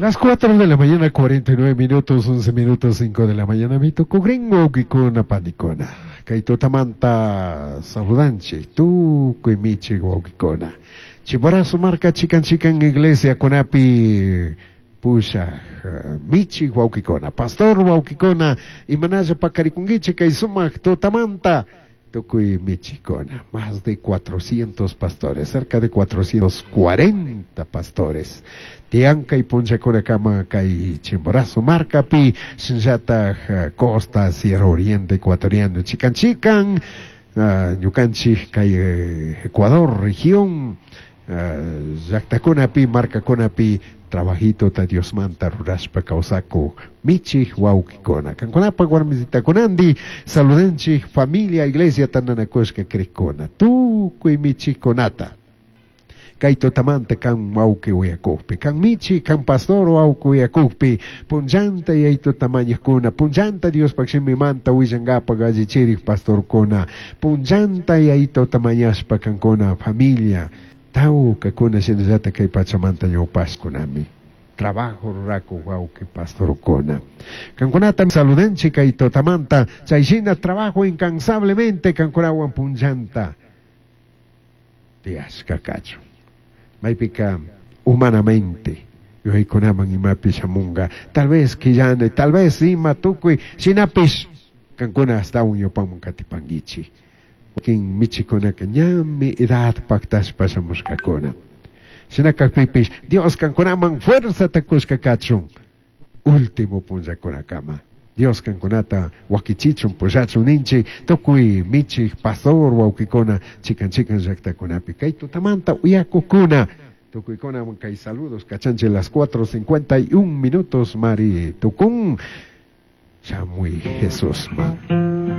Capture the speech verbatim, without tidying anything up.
Las cuatro de la mañana, cuarenta y nueve minutos, once minutos, cinco de la mañana, mi tucugrin wawkikuna panikuna. Kay tutamanta saludanchik, tukuy michik wawkikuna. Chimborazo marka chikan chikan iglesia kunapi pushaj michik wawkikuna, pastor wawkikuna, imanalla pakarikunkichik kay sumak tutamanta tukuy michikuna, más de cuatrocientos pastores, cerca de cuatrocientos cuarenta pastores. Tiyan kay punchakuna kama kay Chimborazo markapi, shinllataj costa, Sierra Oriente ecuatoriano, chikan chikan, uh, ñukanchik kay Ecuador región, uh, llaktakunapi, markakunapi, trabajito ta Diosmanta rurashpa kawsaku michik wawkikuna. Kankunapa warmisitakunandi saludanchik familia iglesia tandanakushka krikuna. Tukuy michikunata. Kay tutamanta kan wawki uyakukpi, kan michi, kan pastor wawki uyakukpi, punllanta yaytuta mañakuna, punllanta Diospaj shimimanta willankapak allichirik pastorkuna, punllanta yaytuta mañashpa kankuna familia, tawkakuna shinallata kay pachamanta ñawpashkunami. Trabajo ruraku wawki pastorkuna. Kankunata saludanchik kay tutamanta, chayshina trabajo incansablemente kankunawan punllanta tiyashka kachun. Maypika humanamente yuyaykunaman imapish shamunga, tal vez quillana, tal vez ima tukuy shinapish kankuna astawan ñawpaman katipankichik. Wakin michikunaka ñami edad paktashpa shamushkakuna. Shina kakpipish Dios kankunaman fuerzata kushka kachun último punllakunakama. Dios kankunata wakichichun pushachun ninchik tukuy michik pastor wawkikuna chikan chikan llaktakunapi kay tutamanta uyakukuna tukuykuna kay saludos kachanchik. Las cuatro cincuenta y un minutos mari tukun. Shamuy Jesús man.